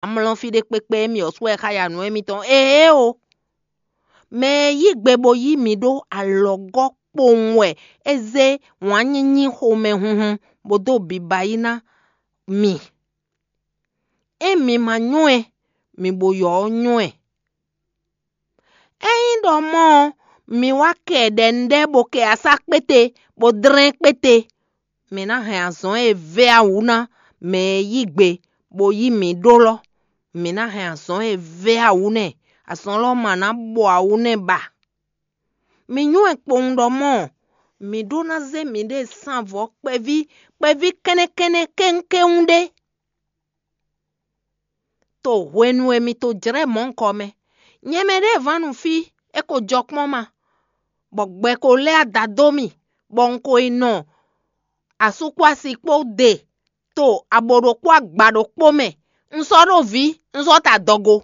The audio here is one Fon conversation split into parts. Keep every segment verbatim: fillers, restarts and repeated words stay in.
amlɔ́ fí ɖé kpékpé émí ɔ́ sú wɛ xá ya nǔ émítɔn. Éeǒ! Mɛ e yí gbe bó yí mi ɖó alɔgɔ́ kpowun wɛ é zé wǎn nyínyí xomɛ hunhun bó dó biba yí ná mi. Ényí mi ma nywɛ́ ɛ, mi bo ylɔ́ nywɛ́ ɛ. Ényí ɖɔ mɔ̌ ɔ́, mi wá kɛ ɖɛnúɖɛ bó kɛ asá kpéte, bó dlɛ́n kpéte, mǐ ná hɛn azɔ̌ e vé awǔ ná mɛ e yí gbe bó yí mǐ ɖó lɔ́. Mǐ ná hɛn azɔ̌ e vé awǔ nɛ́, azɔ̌ lɔ́ ma ná bɔ awǔ nɛ́ ba. Mi nywɛ́ kpowun ɖɔ mɔ̌, mǐ ɖó ná zé mǐɖée sín avɔ kpɛví kpɛví kɛ́nnɛ́ kɛ́nnɛ́ kéwúnkéwún ɖé. To hwenu e mi to jlɛ́ mɔ̌hunkɔ mɛ. Nyɛ mɛ ɖěe vǎn nu fí, é ko jɔ kpɔ́n ma, bɔ gbɛ ko lɛ́ ada dó mì, bɔ un ko yi nɔ asú kpó asi kpó ɖe to abo ɖokpó agba ɖokpó mɛ. Un sɔ́ ɖó vǐ, un sɔ́ ta adɔgo.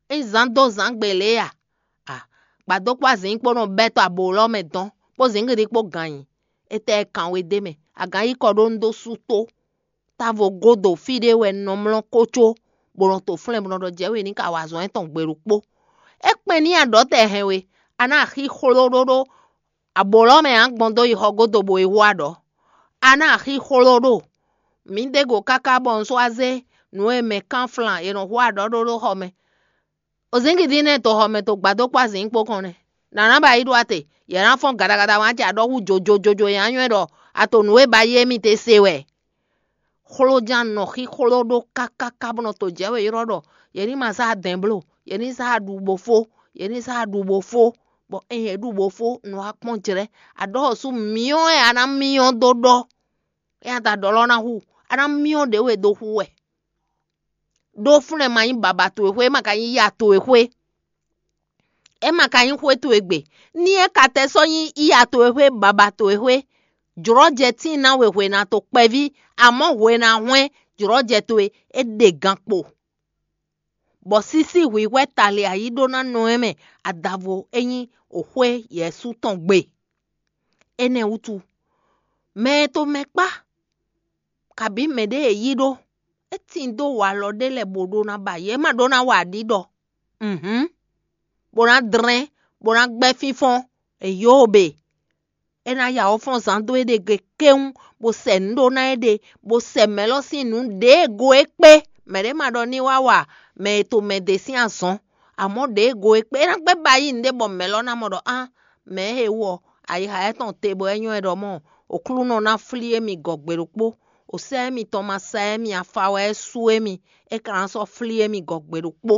É zán dó zǎn gbe lě a? A, gbadó kpó azǐn kpó nɔ bɛ́ tɔ abo lɔ́ mɛ dɔn, kpó zǐngídi kpó gǎn nyi. Étɛ́ kan we d'é mɛ? A gǎn yi kɔ ɖó un dó sú tó. Távo gúdo fí ɖé wɛ un nɔ mlɔ́ kócó, bó nɔ to flɛ́n bó nɔ ɖɔ jɛ̌ we ní ka wa azɔ̌ étɔn gbe ɖokpó. É kpɛn n'i a ɖɔ tɛ hɛn we, a ná axi xló ɖó ɖó abo lɔ́ mɛ ǎ gbɔn dó yi xɔ gúdo bó yi hú aɖɔ̌. A ná axi xló ɖó. Mǐ ɖe go káká bɔ un sɔ́ wá zé nǔ e mɛ kán flan è nɔ hú aɖɔ̌ ɖó ɖó xɔ mɛ. Ozǐngídi nɛ́ to xɔ mɛ to gbadó kpó azǐn kpó kɔn nɛ́. Nǎ ná ba yi ɖó ate, yě ná fɔ́n gadagadawán ce aɖɔ́ hú jojojojo e ná nywɛ́ ɖɔ a to nǔ e ba yi émí te se wɛ. Xlójan nɔ xíxló ɖó kákáká bó nɔ to jɛ̌ wě ylɔ́ ɖɔ yě ní ma zá dɛ̌n bló, yě ní zá ɖu bó fó, yě ní zá ɖu bó fó, bɔ ényí è ɖu bó fó, nǔ wá kpɔ́n jlɛ́. Aɖɔ́ ɔ́ sú myɔ wɛ a ná myɔ dó ɖɔ. Éyɛ́ ta ɖɔ lɔ ná hu, a ná myɔ ɖě we dó hu wɛ. Ɖó fúnɛ́ ma nyí baba towe xwé, é ma ka nyí ya towe xwé. É ma ka nyí xwé towe gbe. Ní é ka tɛ sɔ́ nyí ya towe xwé, baba towe xwé, jlɔ̌jɛ tíin ná we hwena to kpɛví, amɔ̌ hwena hwɛ́n jlɔ̌jɛ towe é ɖe gan kpo. Bɔ sísí hwǐhwɛ́ tali ayí ɖó ná nɔ ɛ mɛ adavo é nyí òxwé Yɛ̌su tɔn gbe. Énɛ́ wútu, mɛ e to mɛ kpá, kabǐ mɛɖée è yí ɖó, é tin dó walɔ ɖé lɛ́ɛ bó ɖó ná ba yě, é ma ɖó ná wa aɖǐ ɖɔ. Hǔn, bó ná dlɛ́n, bó ná gbɛ́ fínfɔ́n, è yǒ be. É ná ya wǒ fɔ́n zán dó éɖée gbe kéwún, bó sɛ nǔ ɖó ná éɖée, bó sɛ mɛ̌ lɔ sín nǔ ɖěe go é kpé. Mɛ̌ ɖé ma ɖɔ ní wá wa mɛ e to mɛ ɖě sín azɔn, amɔ̌ ɖěe go é kpé. É ná gbɛ́ ba yí nǔɖé bɔ mɛ̌ lɔ ná mɔ ɖɔ á, mɛ̌ e wú ɔ́, ayixa étɔn te bɔ é nyɔ́ ɛ ɖɔ mɔ̌, Oklúnɔ ná flí émí gɔ̌ gbe ɖokpó. Osá émítɔn ma sá émí afa wɛ é sú émí, é ka ná sɔ́ flí émí gɔ̌ gbe ɖokpó.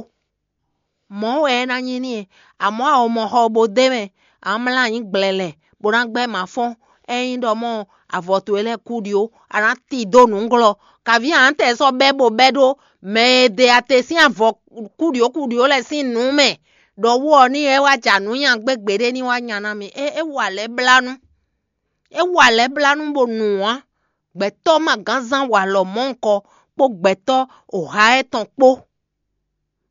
Mɔ̌ wɛ é ná nyí n'i, amɔ̌ a o mɔ xɔ bo d'é mɛ, a nǎ mlá anyǐ gblɛlɛ, bó ná gbɛ́ mǎ fɔ́n. Ényí ɖɔ mɔ̌ avɔ towe lɛ́ɛ kú ɖi ó, a nǎ ti dó nǔglɔ́. Kaví a nǎ tɛ sɔ́ bɛ́ bó bɛ́ ɖó mɛ e ɖe ate sín avɔ kúɖiǒ kúɖiǒ lɛ́ɛ sín nǔ mɛ, ɖɔ wú ɔ́ ní é wá ja nǔ nyagbé gbeɖé ní wá nya ná mi. É é wa lɛ̌ blánú. É wa lɛ̌ blánú bó nu ǎ. Gbɛ̌tɔ́ ma gán zán walɔ mɔ̌hunkɔ kpó gbɛ̌tɔ́ oha étɔn kpó.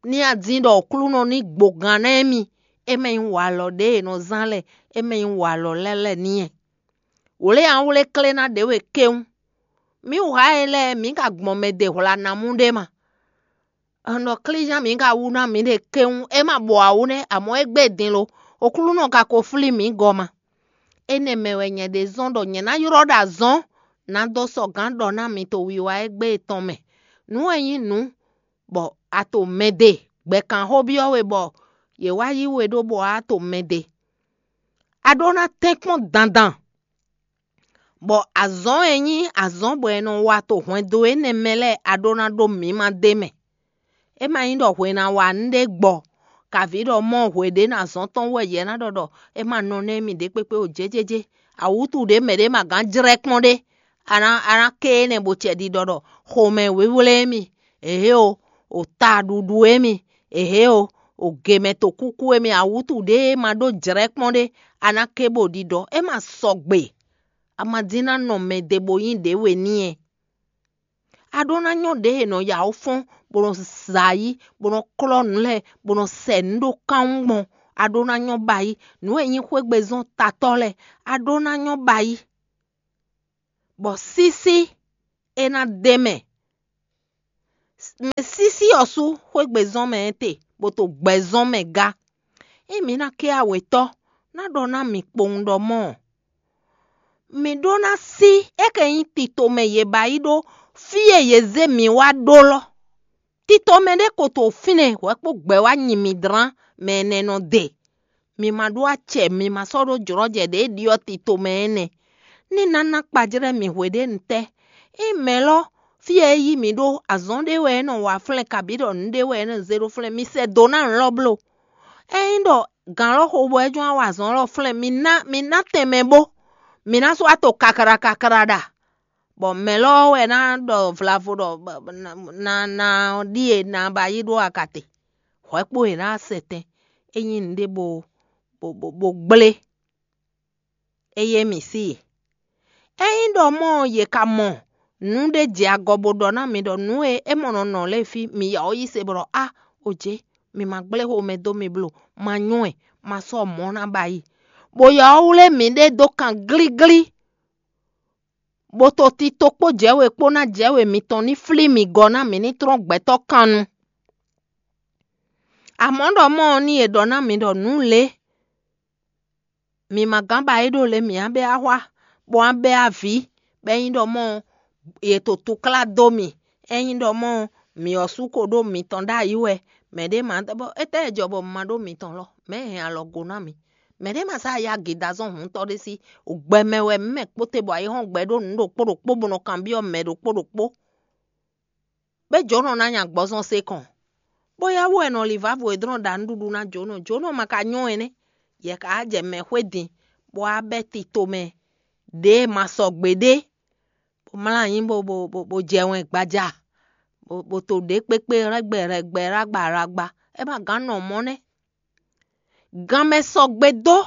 Ní a dín ɖɔ Oklúnɔ ní gbo gan ná émí, é mɛ nyí walɔ ɖě è nɔ zán lɛ́ɛ, é mɛ nyí walɔ lɛ́ɛ lɛ́ɛ n'i. Wlě a wlé klé ná ɖě we kéwún. Mǐ wǔ xá e lɛ́ɛ mǐ ka gbɔn mɛ ɖe hwla namú ɖé ma. Un ɖɔ klízán mǐ ka wú ná mǐɖée kéwún, é ma bɔ awǔ nɛ́, amɔ̌ é gbé din lo. Oklúnɔ ka ko flí mǐ gɔ́ ma. Énɛ́ mɛ wɛ nyɛ ɖe zɔ́n ɖɔ nyɛ ná ylɔ́ ɖo azɔ̌ ná dó sɔgǎn ɖɔ ná mi to wiwa égbé tɔn mɛ. Nǔ e nyí nǔ bɔ a to mɛ ɖe, gbɛ̌kanxó byɔ́ we bɔ yě wá yí we ɖó bɔ a to mɛ ɖe. A ɖó ná tɛ́nkpɔ́n dandan, bɔ azɔ̌ e nyí azɔ̌ bɔ è nɔ wa to hwɛndo énɛ́ mɛ lɛ́ɛ a ɖó ná ɖó mǐma d'é mɛ. É ma nyí ɖɔ hwe ná wa nǔɖé gbɔ, kaví ɖɔ mɔ hwe ɖě ná zɔ́n tɔn wú wɛ yě ná ɖɔ ɖɔ é ma nɔ nɛ́ mì ɖě kpékpé o jéjéjé. Awǔtu ɖě mɛ ɖě ma gán jlɛ́ kpɔ́n ɖé, a ná a ná ké énɛ́ bo cɛ ɖiɖɔ ɖɔ xomɛ wéwlé émí, èhé o, o taɖuɖu émí, èhé o, o gěmɛ to kúkú émí, awǔtu ɖě e ma ɖó jlɛ́ kpɔ́n ɖé, a ná ké bo ɖiɖɔ. É ma sɔgbe, a ma dín ná nɔ mɛ ɖě bó nyí ɖě we n'i ɛ. A ɖó ná nyɔ́ ɖěe è nɔ ya wǒ fɔ́n, bó nɔ zɛ ayǐ, bó nɔ klɔ́ nǔ lɛ́ɛ, bó nɔ sɛ nǔ ɖó kánwún gbɔn. A ɖó ná nyɔ́ ba yí. Nǔ e nyí xwégbezɔ́n tatɔ́ lɛ́ɛ, a ɖó ná nyɔ́ ba yí. Bɔ sísí é ná d'é mɛ. mɛ sísí ɔ́ sú xwé gbe zɔ́n mɛ étɛ, bó to gbɛ zɔ́n mɛ gá. Ényí mǐ ná ké awětɔ́, ná ɖɔ ná mì kpowun ɖɔ mɔ́ ɔ́, mǐ ɖó ná sí é kɛ nyí tito mɛ yě ba yi ɖó fí e yě zé mǐ wá ɖó lɔ́. Tito mɛ ɖé ko to fínɛ́ hwɛ̌ kpó gbɛ̌ wá nyi mǐ dlán mɛ ɛnɛ nɔ de. Mi ma ɖó acɛ, mi ma sɔ́ ɖó jlɔ́jɛ ɖě e ɖyɔ́ tito mɛ é nɛ́. Ní ná ná kpajlɛ́ mì hweɖěnu tɛ́. Ényí mɛ̌ lɔ́ fí e é yí mǐ ɖó azɔn ɖé wɛ é nɔ wa flɛ́n kabǐ ɖɔ nǔ ɖé wɛ é nɔ zé ɖó flɛ́n, mi sɛ dǒ ná nǔ lɔ bló. Ényí ɖɔ gǎn lɔ́ xo bɔ é jɔ́n wá wa azɔn lɔ flɛ́n, mi ná mi ná tɛnmɛ bó, mi ná sɔ́ wá to kakla kakla ɖa. Bɔ mɛ̌ lɔ́ wɛ ná ɖɔ vlavo ɖɔ na na ná ɖíe ná ba yí ɖó akate. Hwɛ̌ kpó è nǎ sɛ tɛn é nyí nǔɖé bó bó bó gblé. Eye mǐ sí i. Ényí ɖɔ mɔ̌ ɔ́, yě ka mɔ nǔ ɖé jɛ agɔ bó ɖɔ ná mi ɖɔ nǔ e é mɔ nɔ nɔ lɛ́ɛ fí mi ya ɔ́ yí se bɔ ɖɔ á, o jě, mi ma gblé xomɛ dó mi bló, ma nyɔ́ ɛ, ma sɔ́ mɔ̌ ná ba yi. Bó ya ɔ́ wlé mǐɖée dó kan glíglí, bó to tito kpó jɛ̌we kpó ná jɛ̌we mitɔn ní flí mi gɔ́ ná mǐ ní tlɔ́n gbɛtɔ́ kan nu. Amɔ̌ ɖɔ mɔ̌ ɔ́, ní è ɖɔ ná mi ɖɔ nǔ lě mi ma gán ba é ɖó lě mǐ á bɛ́ axwá, bó á bɛ́ avǐ, bɔ é nyí ɖɔ mɔ̌ ɔ́, è to túklá dó mì. É nyí ɖɔ mɔ̌ ɔ́, mǐ ɔ́ sú ko ɖó mitɔn ɖ'ayǐ wɛ, mɛ̌ ɖé ma ɖɔ bɔ étɛ́ e jɔ bɔ un ma ɖó mitɔn lɔ, mɛ̌ hɛn alɔ go ná mì? Mɛ̌ ɖé ma sá ya gědazɔn hǔntɔ́ ɖé sí? Gbɛ mɛ wɛ mǐ mɛ kpó te bɔ ayǐhɔ́ngbe ɖó nǔ ɖokpó ɖokpó bó nɔ kanbyɔ́ mɛ ɖokpó ɖokpó. Bɛ́ jǒnɔ ná nya gbɔzɔn se kɔn, bó yá wú wɛ nɔ li vǎvo e dlɔ́n ɖa nǔɖuɖu ná jǒnɔ. Jǒnɔ ma ka nyɔ́ ɛnɛ́, yɛ ka wá jɛ mɛ xwé din, bó wá bɛ́ tito mɛ ɖě e ma sɔgbe ɖé, bó mlá anyǐ bó bó bó bó jɛ wɛn gbaja, bó bó to ɖě kpékpé rɛ́gbɛ rɛgbɛ rágba rágba. É ma gán nɔ mɔ̌ nɛ́. Gan mɛ sɔgbe dó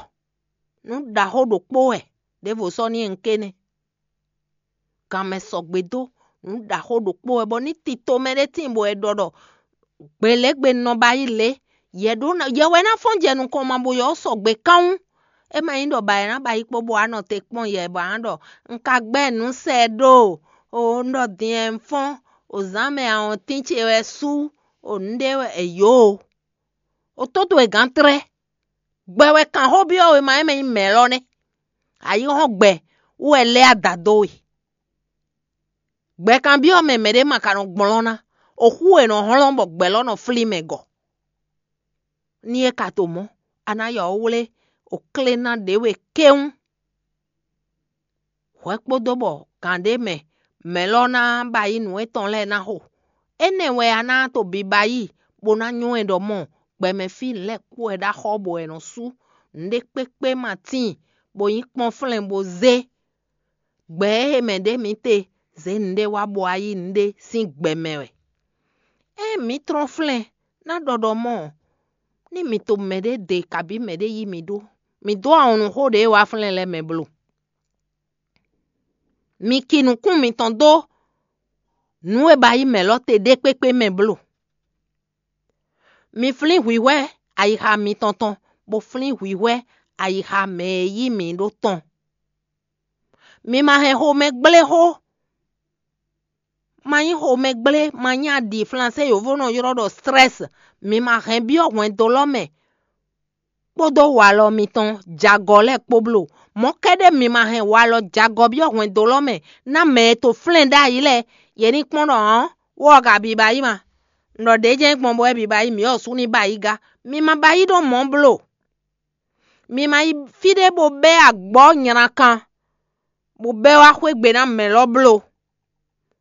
nǔ ɖaxó ɖokpó wɛ, ɖěvo sɔ́ ní e un ké nɛ́. Gan mɛ sɔgbe dó nǔ ɖaxó ɖokpó wɛ, bɔ ní tito mɛ ɖé tíin bɔ è ɖɔ ɖɔ gbělégbé nɔ ba yí lě, yɛ ɖó ná yɛ wɛ ná fɔ́n jɛ nukɔn ma bo yɔ sɔgbe kánwún. É ma nyí ɖɔ ba è ná ba yí kpó bɔ wá nɔ te kpɔ́n yɛ bɔ a nǎ ɖɔ un ka gbɛ́ nǔ sɛ ɖó o, un ɖɔ din wɛ un fɔ́n, o zǎn mɛ awɔntín ce wɛ sú, o nǔɖé wɛ è yǒ o. O tó towe gǎn tlɛ́. Gbɛ wɛ kan xó byɔ́ wěma e mɛ nyí mɛ̌ lɔ nɛ́. Ayǐhɔ́ngbe wú wɛ lɛ́ ada dó we. Gbɛ kanbyɔ́ mɛ mɛɖé ma ka nɔ gblɔ́n ná, o xú e nɔ hlɔ́n bɔ gbɛ̌ lɔ nɔ flí mɛ gɔ̌. Ní é ka to mɔ̌, a ná yɔ wlé o klé ná ɖě we kéwún. Hwɛ kpódó bɔ gǎn ɖé mɛ mɛ̌ lɔ ná ba yí nǔ étɔn lɛ́ɛ ná xo. Énɛ́ wɛ a ná to biba yí, bó ná nyɔ́ ɛ ɖɔ mɔ gbɛmɛ fí lɛ́ɛ kpó wɛ ɖó axɔ́ bɔ è nɔ sú nǔɖé kpékpé ma tíin, bó nyí kpɔ́nflɛ́n bó zé. Gbɛ e mɛ ɖě mǐ te zě nǔɖé wá bɔ wá yí nǔɖé sín gbɛ mɛ wɛ. Ée mǐ tlɔ́n flɛ́n ná ɖɔ ɖɔ mɔ̌ ɔ́, ní mǐ to mɛɖé ɖe kabǐ mɛɖé yí mǐ ɖó, mǐ dó awɔnnu xó ɖě e wá flɛ́n lɛ́ɛ mɛ bló. Mi ki nukún mitɔn dó nǔ e ba yí mɛ lɔ te ɖé kpékpé mɛ bló. Mi flín hwǐhwɛ́ ayixa mitɔn tɔn, bó flín hwǐhwɛ́ ayixa mɛ e yí mǐ ɖó tɔn. Mi ma hɛn xomɛ gblé xó. Ma nyí xomɛ gblé, ma nyí aɖi flansé yǒvó nɔ ylɔ́ ɖɔ stress. Mi ma hɛn byɔ́ hwɛndo lɔ mɛ kpódó walɔ mitɔn jagɔ lɛ́ɛ kpó bló. Mɔ̌ kɛ́ɖɛ́ mi ma hɛn walɔ jagɔ byɔ́ hwɛndo lɔ mɛ ná mɛ e to flɛ́n ɖ'ayǐ lɛ́ɛ, yě ní kpɔ́n ɖɔ hɔ̌n, wɔ ɔ́ ka biba yí ma. Un ɖɔ ɖě jɛ́n gbɔn bɔ wɛ biba yí mǐ ɔ́ sú ní ba yí gá. Mi ma ba yí ɖó mɔ̌ bló. Mi ma yi fí ɖé bó bɛ́ agbɔ̌ nylakan, bó bɛ́ wá xwé gbe ná mɛ lɔ bló.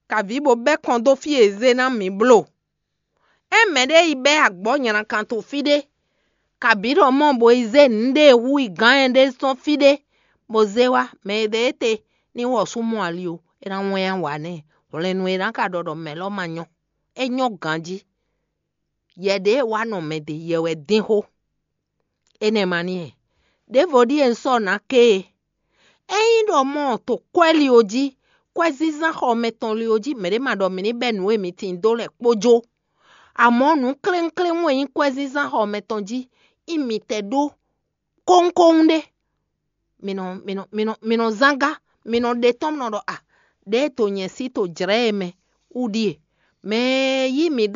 Kaví bó bɛ́ kɔn dó fí e zé ná mǐ bló. Ényí mɛɖé yi bɛ́ agbɔ̌ nylakan to fí ɖé, kabǐ ɖɔ mɔ bó yi zé nǔɖé e hú yi gǎn ɛ ɖé sɔ́ fí ɖé, bó zé wá, mɛ e ɖe éte ní wɔ sú mɔ ali ó, é ná wɛ́n wǎ nɛ́. Hwlɛ̌nnu e ná ka ɖɔ ɖɔ mɛ lɔ ma nyɔ́, é nyɔ́ ganjí. Yɛ ɖě e wá nɔ mɛ ɖe yɛ wɛ dín xó. Énɛ́ ma n'i hɛn. Ɖěvo ɖíe un sɔ́ nǎ ké e. Ényí ɖɔ mɔ to kwɛ́ li ó jí, kwɛ́zínzán xɔ mɛtɔn li ó jí, mɛ̌ ɖé ma ɖɔ mǐ ní bɛ́ nǔ e mi tin dó lɛ́ɛ kpó jó. Amɔ̌ nǔ kléwúnkléwún e nyí kwɛ́zínzán xɔ mɛtɔn jí, nyí mitɛ ɖó kónkóhún ɖé. Mi nɔ mi nɔ mi nɔ mi nɔ zán gá, mi nɔ ɖe tɔ́n nɔ ɖɔ a, ɖěe to nyɛ sí to jlɛ̌ e mɛ wú ɖíe. Mɛ e yí mǐ ɖó